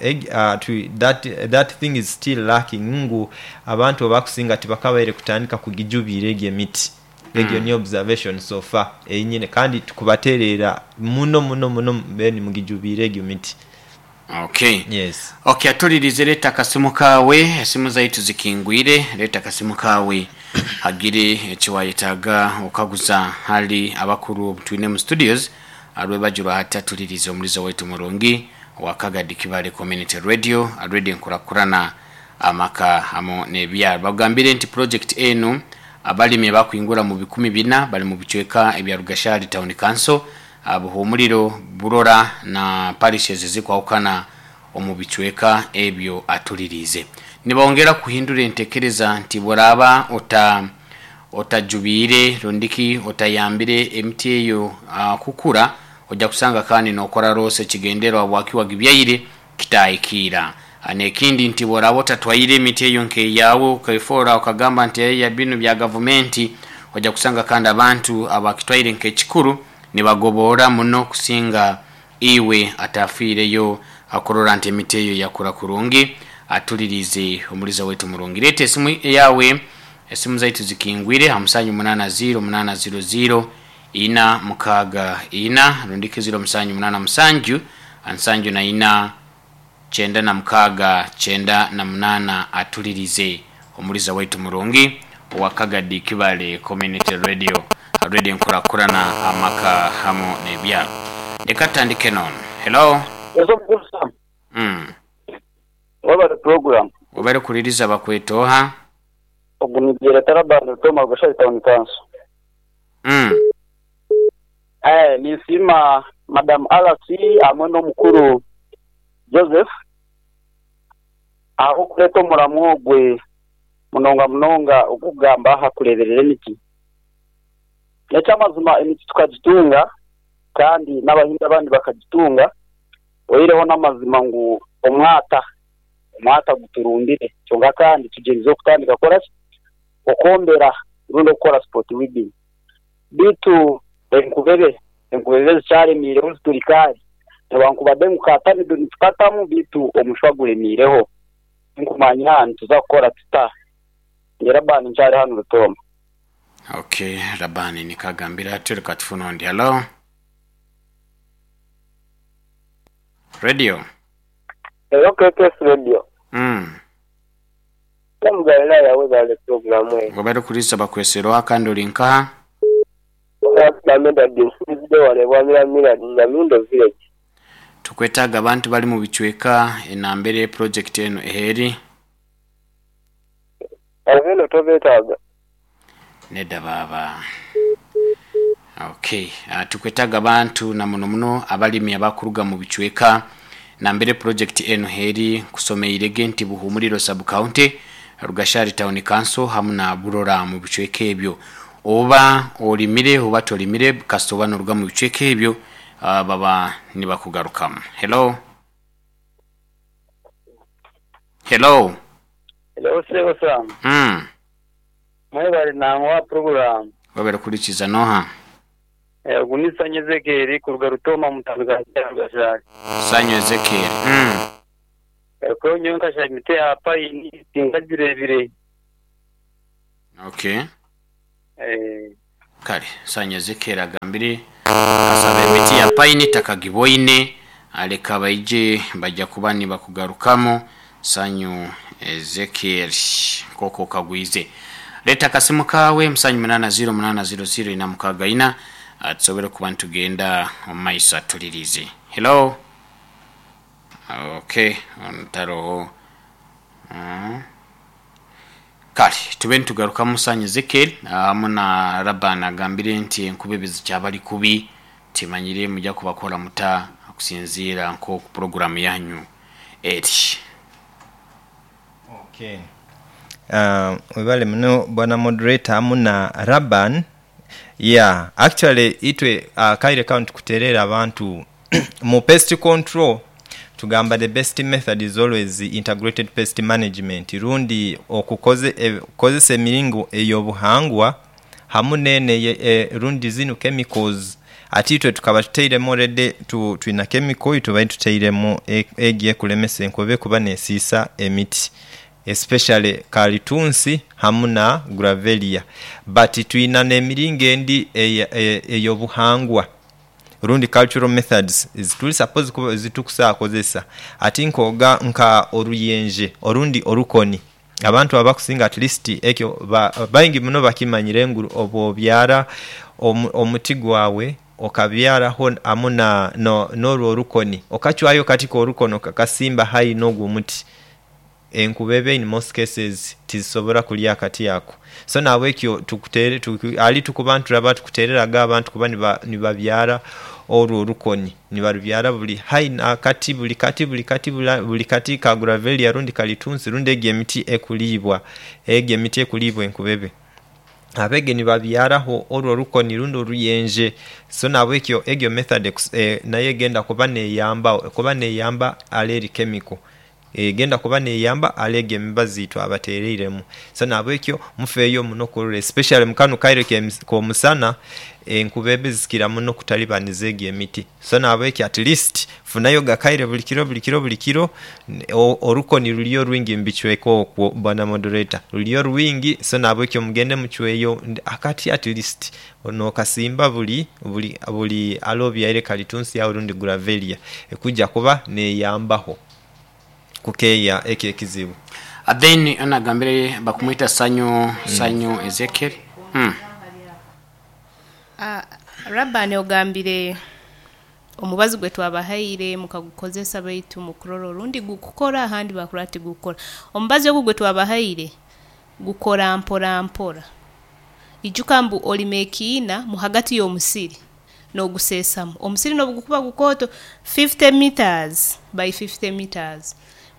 that thing is still lacking ngu abantu abakusinga tibakabaire kutandika kugijubiira egyo emiti. Egyo niyo observation so far eyinyine kandi tukubaterera muno muno muno mube nimugijubiira egyo miti. Okay. Yes. Okay, atulirize leeta akasimu kaawe, esimu zaitu zikingwire, leeta akasimu kaawe hagire ekiwayetaaga okaguza hali abakuru obutwine mu studios. Rwebagyo rwa hati atulirize omuliza waitu omurungi owa Kagadi Kibale Community Radio, Radio Enkurakurana, Amaka hamu n'ebyaro. Bakugambire nti pulojekiti enu abalimi abakwingura mu 400 bali mu bicweka ebya Rugashari Town Council, Buhumuriro, Burora na parishes ezikwahukana omu bicweka ebyo atuliriize. Nibongera kuhindura entekereza nti bworaaba ota Otajubiire rundiki otayambire emiti eyo kukura, oja kusanga kandi nokora roosa ekigendererwa habwaki wagibyaire kitahikiira. N'ekindi nti bworaaba otatwaire emiti eyo nk'eyaawe okefoora okagamba nti eya binu bya gavumenti, oja kusanga kandi abantu abakitwaire nk'ekikuru nibagoboora muno kusinga iwe atafiireyo kurora nti emiti eyo yakura kurungi. Atuliriize omuliza waitu murungi. Leeta esimu yaawe, esimu zaitu zikingwire ha musanju munaana ziiro munaana ziiro ziiro ina mukaaga ina rundiki ziiro musanju munaana musanju nsanju na ina kyenda na mukaaga kyenda na munaana. Atulirize omuliza waitu murungi owa Kagadi Kibale Community Radio, Radio Enkurakurana, Amaka hamu n'ebyaro. Leka tutandike n'ono. Hello. Ezo mukulu Sam. Webale program. Webale kuliriza bakweta oha? Ogu ni Byereta Laban Rutoma Rweshari Town Council. Ninsiima Madam RC hamwe n'omukuru Joseph ahabw'okureeta omuramwa ogwe munonga munonga ogurikugamba aha kureeberera emiti. N'eky'amazima emiti tukagitunga kandi n'abahingi abandi bakagitunga oihireho n'amazima ngu omwata, omwata guturumbire kyonka kandi tugyerizeho kutandika kukora ki? Okwombera rundi okukora spot weeding. Beitu enkubebe, enkubebe zikyaremiireho zituri kaari newankubadde ngu ka tamido nitukatamu beitu omushwa guremiireho. Tinkumanya nituza kukora tuta. Nyowe Labani nkyari hanu Rutooma. Ok, Labani niko agambire atyo. Reka tufune ondi. Hallo? Radio. Hello KKS Radio. Sam Galilaya webale pulogulamu eno. Webale kuriisa bakwesera oha kandi ori nkaha? Bwana Medard nsinzidde wano e Bwamiramira Nyamindo village. Tukwetaaga abantu bali mu bicweka enambere pulojekiti enu eheri. Abo eno tobetaaga. Nedda baaba. Ok, tukwetaaga abantu na muno muno abalimi abakuruga mu bicweka nambere pulojekiti enu heri. Nkusomeirege nti Buhumuriro Sub County, Rugashari Town Council hamu na Burora mu bicweka ebyo. Oba olimire oba tolimire kasita oba noruga mu bicweka ebyo baba nibakugarukamu. Hello? Hello? Hello sebo Sam. Mwebale nangwa program. Webale kuhurikiza noha? Ogu ni Sanyu Ezekiel kuruga Rutooma omu tauni ga Rwagashaari. Sanyu Ezekiel, mm. Kwo nyowe nkashaba emiti ya payini tinkagireebire. Okay. Kale Sanyu Ezekiel agambire akasaba emiti ya payini takagiboine leka baije baija kuba nibakugarukamu Sanyu Ezekiel nk'oku okagwize. Leeta akasimu kaawe musanju munaana ziro munaana ziro ziro ina mukaaga ina tusobole kuba nitugenda omu maiso atuliriize. Hello? Okay, ono taroho. Mm. Kale tube nitugarukamu Sanyu Ezekiel hamu na Laban agambire nti enkuba ebizikyabali kubi timanyire muja kubakora muta okusinziira nk'oku puroguramu yanyu eri. Okay. Webale muno bwana moderator hamu na Laban. Yeah, actually itwe akaire kano tukuterera abantu mu pest control tugamba the best method is always integrated pest management rundi okukozesa emiringo ey'obuhangwa hamu n'eno rundi zinu chemicals. Ati itwe tukaba tutairemu already twina chemical eitubaire tutairemu egyo ekulemesa enkobe kuba nesiisa emiti especially kalitunsi hamu na gravelia but twina n'emiringo endi ey'obuhangwa rundi cultural methods ezituli suppose kuba ezitukusobola kozesa. Ati nkoga nka oruyenje orundi orukoni abantu abakusinga at least ekyo baingi muno bakimanyire ngu obwobyara omuti gwawe okabyaraho hamu n'orwo orukoni okachwayo akati k'orukoni okakasimba haihi n'ogwo omuti Enkubebe in most cases tizisobora kulya akati ako. So nahabwekyo tukutere ali tukuba nituraba tukutereraga abantu kuba nibabyara orwo orukoni, nibarubyara buli haihi nakati buli kati buli kati buli kati ka gravelia rundi kalitunsi rundi egyo emiti ekuliibwa egyo emiti ekuliibwa enkubebe. Abege nibabyaraho orwo orukoni rundi oruyenje. So nahabwekyo egyo method nayo egenda kuba neyamba kuba neyamba ale eri chemical. Egenda kuba neyamba ale egyo emibazi yitwabatereiremu. So nahabwekyo mufeeyo muno okurora especially mukano kaire komusana enkubebe zikira muno okutalibaniza egyo emiti. So nahabwekyo at least funayo akaire buli kiro buli kiro buli kiro orukoni luliyo lwingi mubicweka okwo bwana moderator luliyo lwingi so nahabwekyo mugende mucweyo akati at least nokasimba buli buli buli ale obyaire kalitunsi agho rundi gravelia ekuja kuba neyambaho. kukeeya ekyo ekizibu. Then ono agambire bakumwita Sanyu Sanyu Ezekiel. Mm. Rabani ogambire omubazi gwe twabahaire mukagukozesa baitu mukurora orundi gukukora ahandi bakurora tigukukora. Omubazi ogu gwe twabahaire gukora mpora mpora. Ijuka mbu olima ekiina mu hagati y'omusiri n'oguseesamu. Omusiri n'obu gukuba gukooto fifty metres by fifty metres,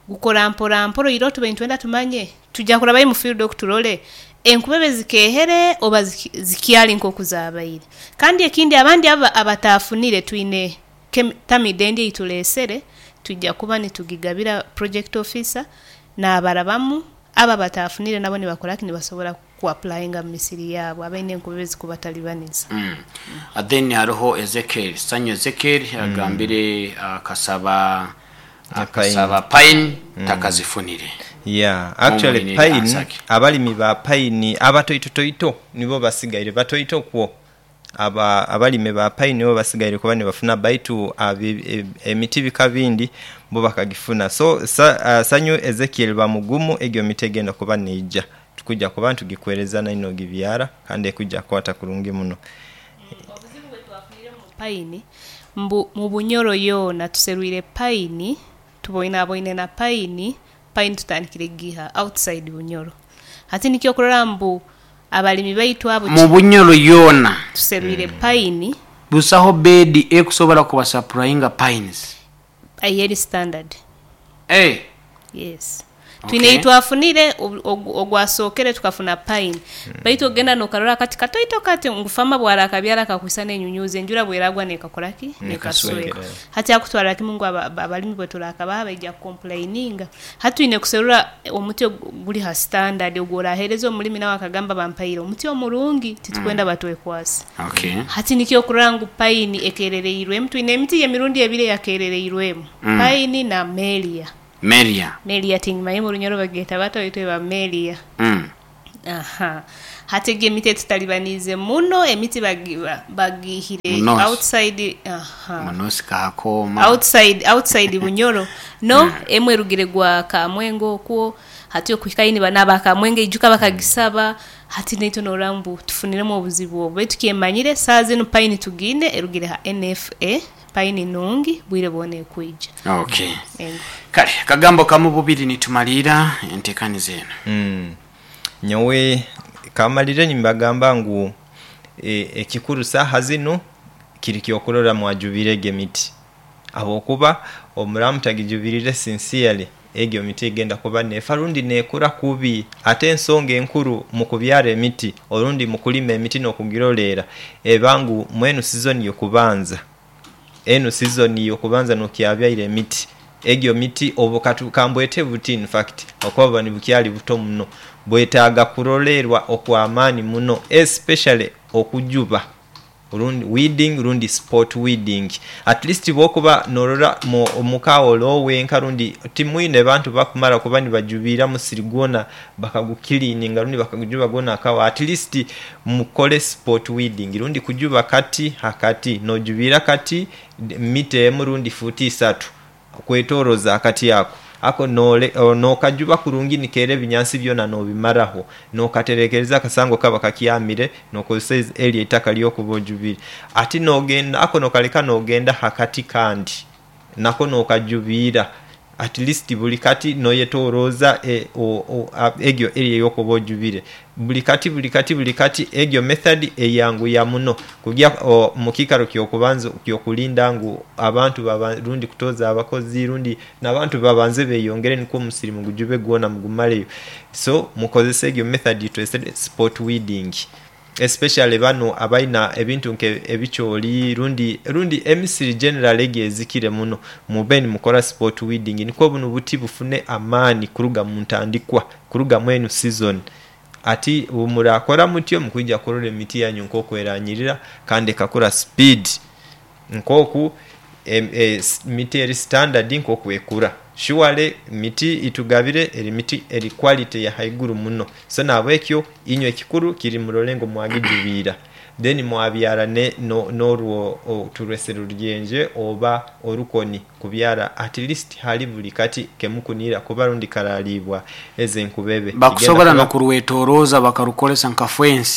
gukora mpora mpora oihireho tubaire nitwenda tumanye twija kurabayo omu field oku turole enkubebe zikeehere oba zikyali nk'oku zaabaire. Kandi ekindi abandi abo abataafunire twine tamidi endi ei tuleesere twija kuba nitugigabira project officer naabarabamu abo abataafunire nabo nibakora ki nibasobora ku applyinga mu misiri yaabo abaine enkubebe ezikubatalibaniza. Then haroho Ezekiel, Sanyu Ezekiel agambire akasaba akasaba pine takazifunire. Yeah, actually Mumuhine pine answer ki? abalimi ba pine abatoitotoito nibo basigaire batoito kwo. Aba abalimi ba pine nibo basigaire kuba nibafuna baitu emiti bika bindi bo bakagifuna. So Sanyu Ezekiel ba mugumu egyo miti egenda kuba neija. Tukuja kuba nitugikwereza nainwe ogibyara kandi ekuja kwata kurungi muno. Obuzibu bwetwafunire mu payini mbu mu Bunyoro yoona tuserwire payini, tuboinaboine na payini, payini tutandikire giiha outside Bunyoro. Hati nikyo okurora mbu abalimi baitu abo Mu Bunyoro yoona. Tuserwire payini. Busaho beedi ekusobola kubasapurayinga pines. Aye eri standard. Eeh. Yes. Twine Okay. twafunire ogwasookere tukafuna pine, baitu ogenda nokarora akati katoito kati ngu fama bwarakabyara kakwisa n'enyunyuzi, enjura bweragwa nekakora ki? Nekasweka. Nekasweka. Hati akutwara kimu ngu abalimi bwe turakabaha baija kucomplaininga. Hati twine kuserura omuti guli ha standard ogworahereza omulimi nawe akagamba bampaire omuti omurungi, titukwenda batwekwase. Okay. Hati nikyo okurora ngu pine ekerereirwemu, twine emiti y'emirundi ebiri eyakerereirwemu, pine na melia. Melia. Melia tingimanyi mu Runyoro bagyeta bata, baitu eba melia. Aha. Hati egi emiti etutalibaniize muno, emiti bagihire Munosi. outside, aha. Munosi kakoma. Outside Bunyoro. No, emwe erugire gwa Kamwenge okwo, hati okuhika ini n'aba Kamwenge ijuka bakagisaba, hati naitwe norora ngu tufuniremu obuzibu obu. Baitu kyemanyire saaha zinu pine tugiine erugire ha NFA, pine nungi bwire bwona ekwija. Okay. Ego. Kale kagambo kamu bubiri nitumalira entekaniza eno. Nyowe kamalire nimbagamba ngu ekikuru saaha zinu kiri kyokurora mwajubire egi emiti, habwokuba omuramu tagijubirire sincerely egyo miti egenda kuba nefa rundi nekura kubi. Ate ensonga enkuru mu kubyara emiti orundi mu kulima emiti n'okugirolera eba ngu mwenu season y'okubanza, enu season y'okubanza nokyabyaire emiti, egyo miti obu kambwete buti in fact okuba buba nibukyali buto muno, bwetaaga kurolerwa okw'amaani muno, especially okujuba rundi weeding rundi spot weeding. At least bwokuba norora omuka olowenka rundi timwine bantu bakumara kuba nibajubira musiri gwona bakagukilininga rundi bakagujuba gwona akawa, at least mukole spot weeding rundi kujuba kati hakati, nojubira kati mita emu rundi futi isatu kwetoroza akati ako, ako nokajuba kurungi nikeera ebinyansi byona nobimaraho, nokaterekereza akasango kaba kakyamire nokozesa eryo eitaka ryokuba ojubire. Ati nogenda ako nokaleka nogenda hakati kandi nako nokajubira, at least buli kati noyetoroza egyo area eyokuba ojubire buli kati buli kati buli kati. Egyo method eyanguya muno kugya mukikaro kyokubanza kyokulinda ngu abantu baba rundi kutoza abakozi rundi n'abantu babanze beyongere nikwo omusiri mugujube gwona mugumaleyo. So mukozese egyo method twesere spot weeding, especially bano abaina ebintu nke ebikyoli rundi emisiri generally egyo ezikire muno, mube nimukora spot weeding nikwo buno buti bufune amaani kuruga mu ntandikwa, kuruga mwenu season. Ati bwemurakora mutyo mukwija kurora emiti yanyu nkoku eranyirira kandi ekakura speed nkoku miti eri standard nkoku ekura. Surely miti itugabire eri miti eri quality ya haiguru muno. So nabwekyo inywe ekikuru kiri murole ngu mwagijubiira, then mwabyara n'orwo turwese ruryenje oba orukoni kubyara at least hali buli kati kemukunira kuba rundi karalibwa ezo enkubebe. Bakusobola nokurwetoroza bakarukolesa nka fence.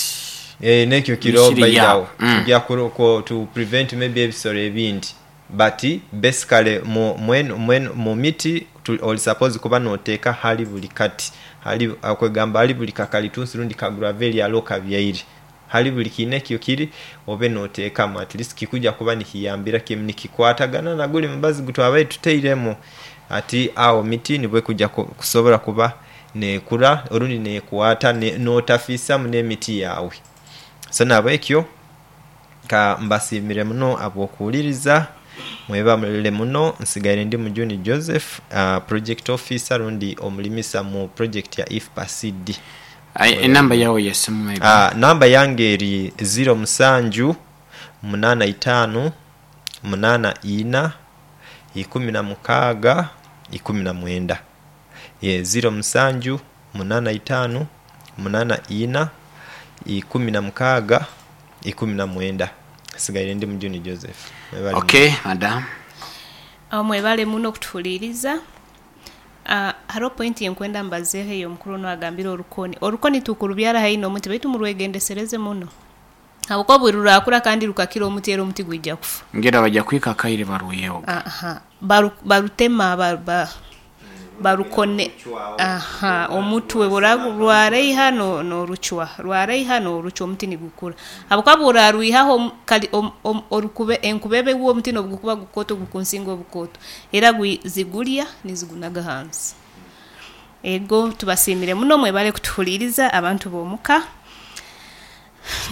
Nekyo kiro Misiri bairawo. yabo. Tujja to prevent maybe ebisoro ebindi, but basically mu miti oli suppose kuba noteeka hali buli kati, hali kwegamba hali buli kakalitunsi rundi kagravelia alo kabyaire, hali buli kiina ekyo kiri obe noteekamu at least kikuja kuba nikiyambira kimu nikikwatagana na guli mubazi gutwabaire tutairemu. Ati awo miti nibwo ekuja kusobola kuba nekura orundi nekwata notafiisamu n'emiti yawe. So nabwekyo ka mbasiimire muno abw'okuwuliriza, mwebale muno. Nsigaire ndi Mujuni Joseph, project officer rundi omulimisa mu project ya IFPA CD. Enamba yawe yesimu maybe? Namba yange eri 0 musanju munana itaanu munana ina ikumi na mukaaga ikumi na mwenda. 0 musanju munana itaanu munana ina ikumi na mukaaga ikumi na mwenda. Nsigaire ndi Mujuni Joseph. Mwebale Okay, madam. Mwebale muno okutuhuliriza. Hariho point yenkwenda mbazeeho eyo omukuru onu agambire orukoni. Orukoni tukurubyara haihi n'omuti baitu murwegendesereze muno, habwokuba buri rurakura kandi rukakira omuti era omuti gwija kufa. Ngira bajja kwika akaire barwiyeho. Aha. Barutema barukone. Aha, omutwe rwareiha n'orucwa, rwareiha n'orucwa omuti nigukura. Habwokuba bw'orarwihaho kali orukube enkubebe gwo omuti n'obugukuba gukoto gukunsinga obukoto, era zigulya nizigunaga hansi. Ego tubasiimire muno mwebale kutuhuliiriza abantu b'omuka.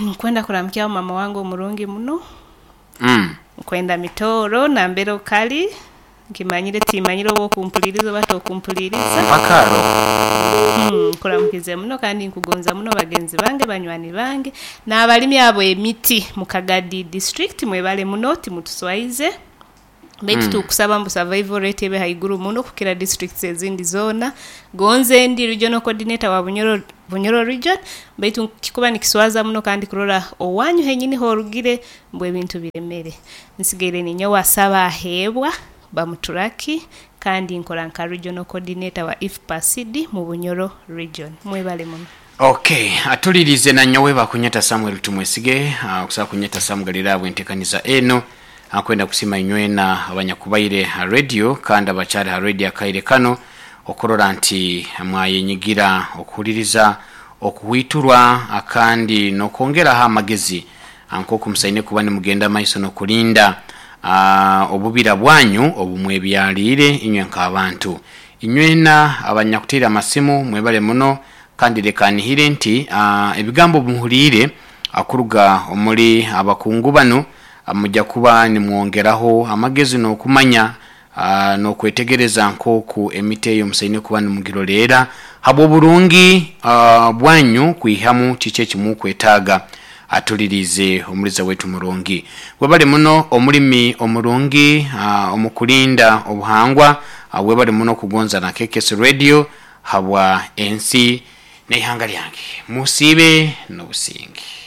Nkwenda kuramukyaho mama wange omurungi muno. Nkwenda Mitooro nambere okali, nkimanyire timanyire oba okumpuliiriza oba tokumpuliiriza. Mpaka aro. Nkuramukize muno kandi nkugonza muno bagenzi bange, banywani bange n'abalimi ab'emiti mu Kagadi district mwebale muno timutuswaize. Baitu tukusaba mbu survival rate ebe haiguru muno kukira districts ezindi zoona. Gonze ndi regional coordinator wa Bunyoro, Bunyoro region, baitu kikuba nikiswaza muno kandi kurora owanyu henyini horugire mbu ebintu biremere. Nsigaire ninyowe asaba aheebwa Bamuturaki kandi nkora nka regional coordinator wa IFPA-CD mu Bunyoro region. Mwebale muno. Okay, atulirize nanyowe bakunyeta Samuel Tumwesige, okusobola kunyeta Sam Galilaya bwentekaniza eno. Akwenda kusima inywena abanyakubaire ha radio kandi abakyali ha radio akaire kano okurora nti mwayenyigira okuhuliriza okuhwiturwa akandi nokwongeraho amagezi nkoku musaine kuba nimugenda maiso nokulinda obubira bwanyu obumwebyaliire inywe nk'abantu. Inywena abanyakutaire amasimu mwebale muno kandi leka nihire nti ebigambo obimuhuliire kuruga omuri abakungu banu muja kuba nimwongeraho amagezi n'okumanya n'okwetegereza nk'oku emiti eyo musaine kuba nimugiroleera habw'oburungi bwanyu kwihamu kiki ekimukwetaaga. Atuliriize omuliza waitu murungi. Webale muno omulimi omurungi omu kulinda obuhangwa. Webale muno kugonza na KKS Radio habwa ensi n'eihanga lyange. Musiibe n'obusinge.